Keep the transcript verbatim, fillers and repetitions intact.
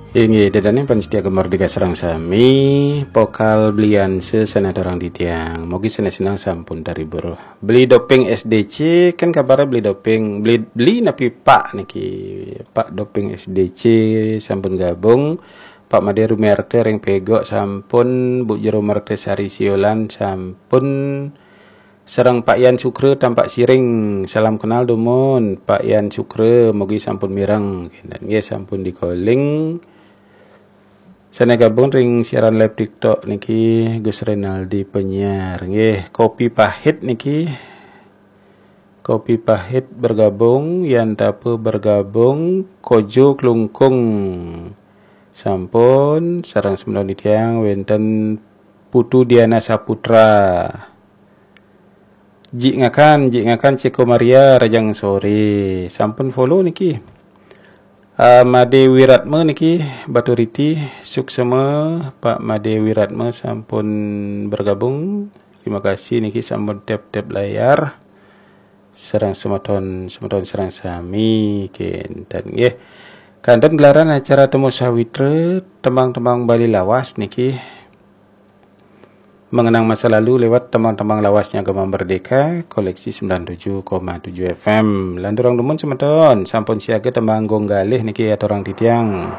Inggih, ida dané pamiarsa Gema Merdeka sareng sami, pokal belian sesana aturang titiang. Mugi sané sineng sampun terhibur. Beli Doping S D C, kan kabaré Beli Doping, beli, beli napi Pak niki, Pak Doping S D C sampun gabung, Pak Made Rumiarta ring Pegok sampun, Bu Jero Mertasari Siolan sampun, sareng Pak Yan Sukra Tampak Siring, salam kenal dumun, Pak Yan Sukra, mugi sampun mireng, kénten nggih sampun di-calling. Sané gabung ring siaran live TikTok niki Gus Renaldi penyiar. Nggih, Kopi Pahit niki. Kopi Pahit bergabung, Yan Tapa bergabung, Kojo Klungkung. Sampun, sareng semeton titiang wénten Putu Diana Saputra. Jik Ngakan, Jik Ngakan Ceko Maria Rajang Sore. Sampun follow niki. Ah, Made Wiratma niki, Baturiti, suksema, Pak Made Wiratma sampun bergabung. Terima kasih niki sampun tap-tap layar. Sareng semeton, semeton sareng sami, kénten nggih. Kanten gelaran acara Temu Sawitra, tembang-tembang Bali lawas niki. Mengenang masa lalu lewat tembang-tembang lawasnya Gema Merdeka, koleksi sembilan tujuh koma tujuh F M. Lanturang dumun semeton, sampun siaga tembang Gong Galih niki aturang titiang.